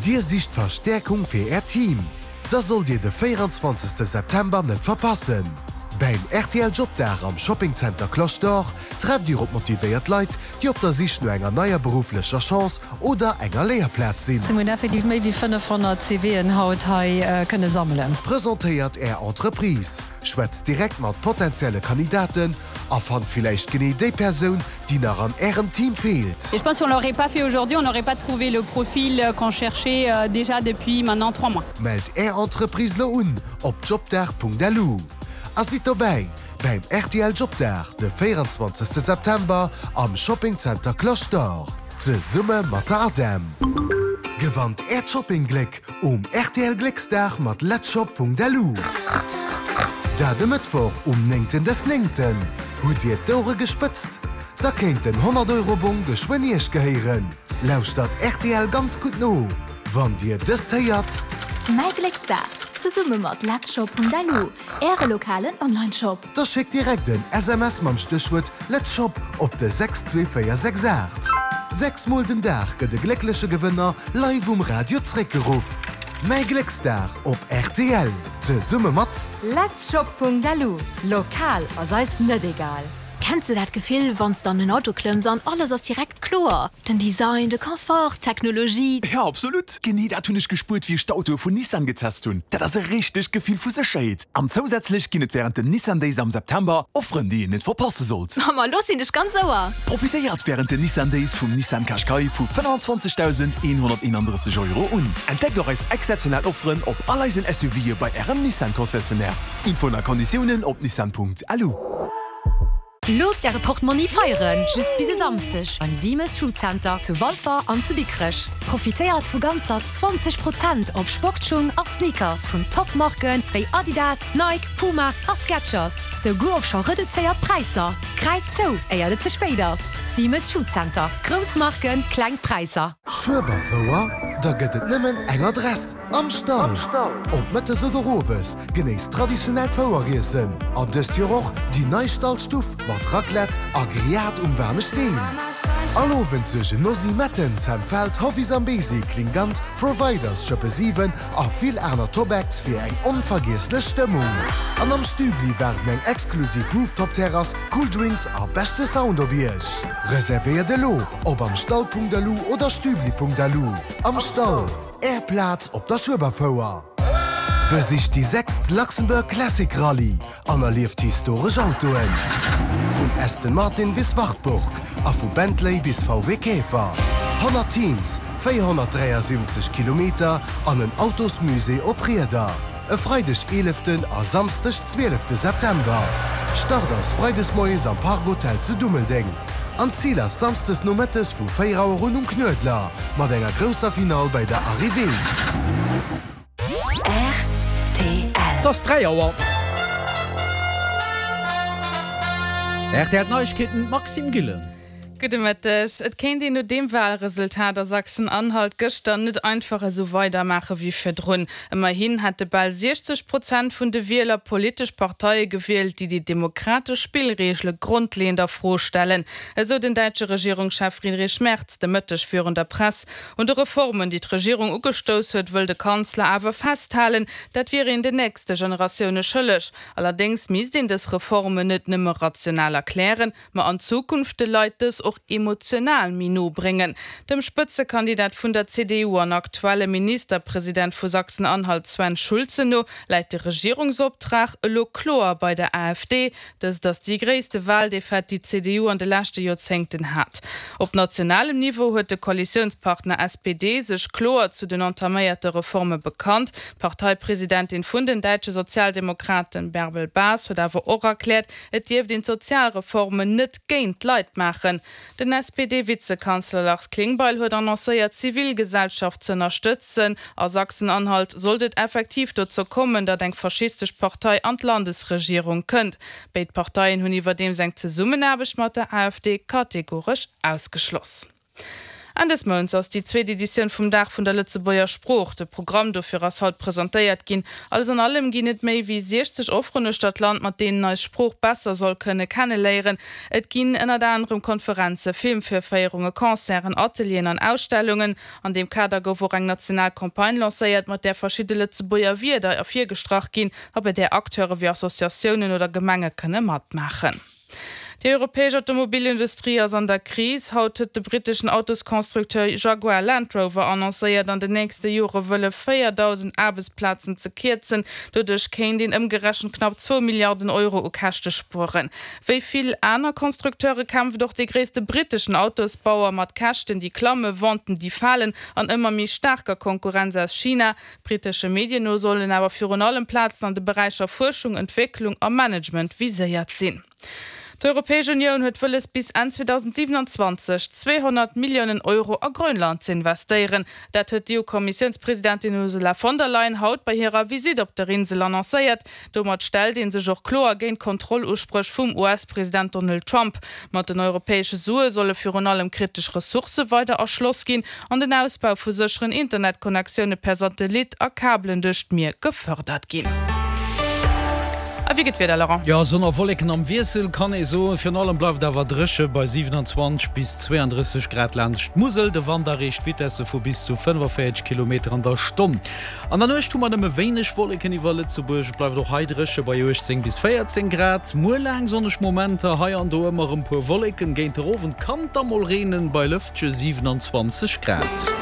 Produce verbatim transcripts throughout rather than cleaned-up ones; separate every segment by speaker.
Speaker 1: Dir sicht Verstäerkung fir Äert Team? Da sollt Dir de véieranzwanzegste September net verpassen! Beim rtl Jobdag am Shopping Center Cloche d'Or trefft Dir op motivéiert Leit, déi op der Sich no enger neier berufflecher Chance oder enger Léierplaz sinn.
Speaker 2: Mir hunn effektiv méi wéi fënnefhonnert CVen haut hei kënne sammelen.
Speaker 1: Presentéiert Är Entreprise, schwätzt direkt mat potenzielle Kandidaten a fannt villäicht genee déi Persoun, déi nach an Ärem Team feelt.
Speaker 3: Et je pense si on l'aurait pas fait aujourd'hui, on n'aurait pas trouvé le profil qu'on cherchait déjà depuis maintenant trois mois.
Speaker 1: Mellt Är Entreprise lo un op jobdag.lu a sidd dobäi beim rtl Jobdag de véieranzwanzegste September am Shopping Center Cloche d'Or zesumme mat der ADEM. Gewannt Äert Shopping-Gléck um rtl Glécksdag mat letzshop.lu. Dat e Mëttwoch um néngten des Néngten. Hutt Dir d'Ouere gespëtzt? Da kéint den honnert Euro Bong geschwënn Iech gehéieren. Lauschtert rtl ganz gutt no, wann Dir dëst héiert.
Speaker 4: Mäi Glécksdag, zesumme mat letzshop.lu, Äre lokalen Online-Shop.
Speaker 1: Da schéckt direkt en S M S mam Stéchwuert Letzshop op de sechs zwee véier sechs aacht. Sechs mol den Dag gëtt e gléckleche Gewënner live um Radio zréckgeruff. Mäi Glécksdag op rtl, zesumme mat.
Speaker 5: Letzshop.lu, Lokal ass eis net egal.
Speaker 4: Kenns de dat Gefill, wann s de an en Auto klëmms an alles ass direkt kloer? Den Design, de Confort, d'Technologie.
Speaker 6: Jo, absolut! Genee dat hunn ech gespuert, wéi ech d'Autoe vun Nissan getest hunn. Dat ass e richtegt Gefill vu Sécherheet. An zousätzlech ginn et wärend den Nissan Days am September Offeren, déi een net verpasse sollt.
Speaker 4: Ma lo sinn ech ganz Ouer!
Speaker 6: Profitéiert wärend den Nissan Days vum Nissan Qashqai vu fënnfanzwanzegdausendeenhonnerteenandrësseg Euro un. Entdeckt och eis exzeptionell Offeren op all eisen S U Ve bei Ärem Nissan Concessionnaire. Infoen a Konditiounen op nissan Punkt lu.
Speaker 5: Loosst Äre Portmonni feieren, just bis e Samsdeg beim Siemes Schuhcenter zu Walfer an zu Dikrech. Profitéiert vu ganzer zwanzeg Prozent op Sportschung a Sneakers vun Top-Marken wéi Adidas, Nike, Puma a Skechers. Souguer op scho reduzéiert Präisser. Gräift zou, éier et ze spéit ass. Siemes Schuhcenter. Grouss Marken, kleng Präisser.
Speaker 1: Schueberfouer? Da gëtt et nëmmen eng Adress, Am Stall! Ob mëttes oder owes, genéisst traditionellt Foueriessen. An dëst Joer och déi nei Stallstuff mat Raclette a Grillade um waarme Steen. All Owend suergen Nosi Metten, Sam Feldt, Hoffy Zambezi, Klingant, Providers, Schëppe siwen a vill aner Top-Acts fir eng onvergiesslech Stëmmung. An am Stübli waarden eng exklusiv Rooftop-Terrass, cool Drinks a beschte Sound op Iech. Reservéiert elo op amstall Punkt lu oder stübli Punkt lu. Am Stall, Är Plaz op der Schueberfouer. Besicht déi sechst Luxembourg Classic Rallye an erlieft historesch Autoen. Vun Aston Martin bis Wartburg a vu Bentley bis V W Käfer. honnert Teams, véierhonnertdräiasiwwenzeg Kilometer an en Autosmusée op Rieder. E Freideg eeleften a Samsdeg zwielefte September. Start ass freides moies am Park Hotel zu Dummeldeng. An Zil ass samsdes nomëttes vu véier Auer un um Knuedler, mat enger grousser Finall bei der Arrivée.
Speaker 7: Et ass dräi Auer. R T L Neiegkeeten, Maxime Gillen.
Speaker 8: Gudde Mëtteg. Et kéint een no deem Walresultat a Sachsen-Anhalt gëschter net einfach esou weidermaache wéi virdrun. Ëmmerhin hätte bal siechzeg Prozent vun de Wieler politesch Parteie gewielt, déi déi demokratesch Spillreegele grondleeënd a Fro stellen, esou den däitsche Regierungschef Friedrich Merz de Mëtteg virun der Press. Un de Reformen, déi d'Regierung ugestouss huet, wëll de Kanzler awer festhalen, dat wier een den nächste Generatioune schëlleg. Allerdéngs misst een dës Reformen net nëmme rational erklären, ma an Zukunft de Leit dës och emotional méi no bréngen. Dem Spëtzekandidat vun der C D U an aktuelle Ministerpresident vu Sachsen-Anhalt Sven Schulze no läit de Regierungsoptrag elo kloer bei der A F D. Dëst ass déi gréisste Waldefaite, déi d'C D U an de leschte Joerzéngten hat. Op nationalem Niveau huet de Koalitiounspartner S P D sech kloer zu den entaméierte Reforme bekannt. D'Parteipresidentin vun den däitsche Sozialdemokraten Bärbel Bas huet awer och erkläert, et dierft een d'Sozialreformen net géint d'Leit maachen. Den S P D-Vizekanzler Lars Klingbeil huet annoncéiert, d'Zivilgesellschaft ze ënnerstëtzen. A Sachsen-Anhalt sollt et effektiv dozou kommen, datt eng faschistesch Partei an d'Landesregierung kënnt. Béid Parteien hunn iwwerdeems eng Zesummenaarbecht mat der A F D kategoresch ausgeschloss. Enn des Mounts ass déi zweet Editioun vum Dag vun der Lëtzebuerger Sprooch. De Programm dofir ass haut presentéiert ginn. Alles an allem ginn et méi wéi siechzeg Offeren uechter d'Land, mat deenen eis Sprooch besser soll kënne kenneléieren. Et ginn ënnert anerem Konferenzen, Filmvirféierunge, Concerten, Atelieren an Ausstellungen. An deem Kader gouf och eng national Campagne lancéiert, mat där verschidde Lëtzebuerger Wierder ervirgestrach ginn a bei där Acteure wéi Associatiounen oder Gemenge kënne matmaachen. Déi europäesch Automobilindustrie ass an der Kris. Haut huet de britteschen Autosconstructeur Jaguar Land Rover annoncéiert, an den nächste Jore wëlle véierdausend Aarbechtsplazen ze kierzen. Doduerch kéint een ëmgerechent knapp zwou Milliarden Euro u Käschte spueren. Wéi vill aner Constructeure kämpft och dee gréisste britteschen Autosbauer mat Käschten, déi klammen, Venten, déi falen an ëmmer méi staarker Konkurrenz aus China. Brittesche Medien no sollen awer virun allem Plazen an de Beräicher Fuerschung, Entwécklung a Management viséiert sinn. D'Europäesch Unioun huet wëlles bis Enn zweedausendsiwenanzwanzeg zweehonnert Milliounen Euro a Grönland ze investéieren. Dat huet d'EU-Kommissiounspresidentin Ursula von der Leyen haut bei hirer Visitt op der Insel annoncéiert. Domat stellt ee sech och kloer géint d'Kontrolluspréch vum U S-President Donald Trump. Mat den europäesche Sue solle virun allem kritesch Ressourcë weider erschloss ginn an den Ausbau vu sécheren Internetconnectioune per Satellit a Kabelen duerch d'Mier gefërdert ginn. A wéi gëtt d'Wieder, Laurent?
Speaker 7: Jo, Sonn a Wolleken am Wiessel kann ee soen. Virun allem bleift et awer dréche bei siwenanzwanzeg bis zweeandrësseg Grad laanscht d'Musel. De Wand erreecht Vitesse vu bis zu fënnefaféierzeg Kilometer an der Stonn. An der Nuecht hu mer nëmme wéineg Wolleken iwwer Lëtzebuerg. Et bleift och hei dréche bei uechtzéng bis véierzéng Grad. Muer laang sonneg Momenter, hei an do ëmmer erëm puer Wolleken. Géint der Owend kann et da mol reenen bei lëftege siwenanzwanzeg Grad.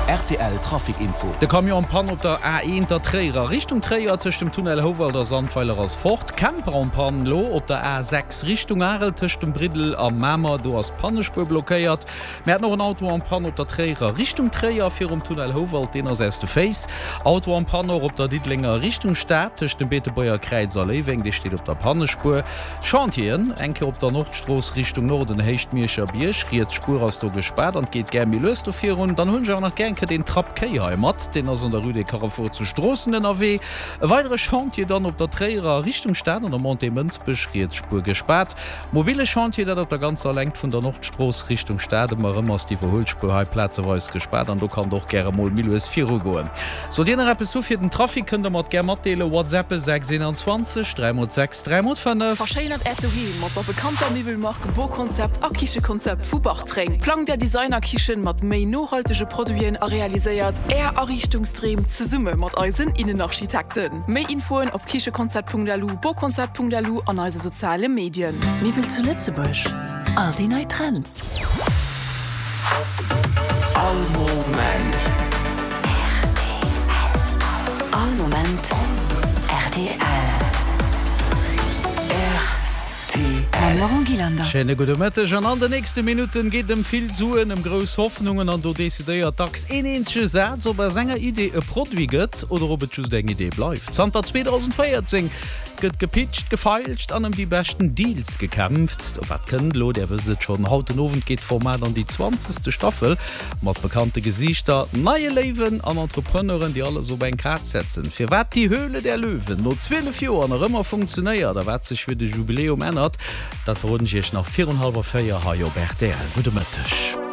Speaker 9: Rtl Trafic Info.
Speaker 7: De Camion en panne op der A eent der Tréier a Richtung Tréier tëscht dem Tunnel Houwald a Sandweiler ass fort. Camper en panne lo op der A sechs Richtung Arel tëscht dem Briddel a Mamer, do ass d'Pannespuer blockéiert. Mir haten och en Auto en panne op der Tréierer Richtung Tréier virum Tunnel Houwald, deen ass aus de Féiss. Auto en panne och op der Diddelenger Richtung Stad tëscht dem Beetebuerger Kräiz a Léiweng, dee steet op der Pannespuer. Chantieren eng Kéier op der Nordstrooss Richtung Norden, Héicht Mierscher Bierg, riets Spuer ass do gespaart an et geet gär méi lues do virun. Dann hunn ech awer nach gär eng Kéier deen Trapp Kéi hei mat, deen ass an der Rue des Carrefours zu Stroossen ënnerwee. E weidere Chantier dann op der Tréierer Richtung Stad an der Montée Mënsbech, riets Spuer gespaart. Mobile Chantier, dat op der ganzer Längt vun der Nordstrooss Richtung Stad. Ëmmer erëm ass d'Iwwerhuelspuer hei plazeweis gespaart an do kann et och gäre mol méi lues virugoen. Sollt Dir nach eppes hu fir den Trafic, kënnt der mer et gär matdeelen, WhatsAppe sechs eenanzwanzeg dräi mol sechs dräi mol fënnef.
Speaker 10: Verschéinert Äert Doheem mat der bekannter Miwwelmark Boconcept a Kichekonzept vu Bartreng. Plangt Är Designerkichen mat méi nohaltege Produiten a realiséiert Är Ariichtungsdreem zesumme mat eisen Innenarchitekten. Méi Infoen op kichekonzept.lu, boconcept.lu an eise soziale Medien.
Speaker 11: Miwwel zu Lëtzebuerg, all déi nei Trends.
Speaker 9: All Moment
Speaker 11: rtl. All Moment rtl. Mam Laurent Gillander.
Speaker 7: Schéine gudde Mëtteg an an de nächste Minutten geet ëm vill Suen, ëm grouss Hoffnungen an do decidéiert dacks een eenzege Saz, ob aus enger Idee e Produit gëtt oder ob et just eng Idee bleift. Zanter zweedausendvéierzéng gëtt gepitcht, gefeilscht an ëm déi beschten Deals gekämpft. Wat kënnt elo? Där wësst et schonn, Haut den Owend geet d'Format an déi zwanzegste Staffel mat bekannte Gesiichter, neie Léiwen an Entrepreneuren, déi alles op eng Kaart setzen. Firwat Die Höhle der Löwen no zwielef Joer nach ëmmer funktionéiert a wat sech fir de Jubiläum ännert, dat verroden ech Iech nach virun hallwer véier hei op rtl. Gudde Mëtteg.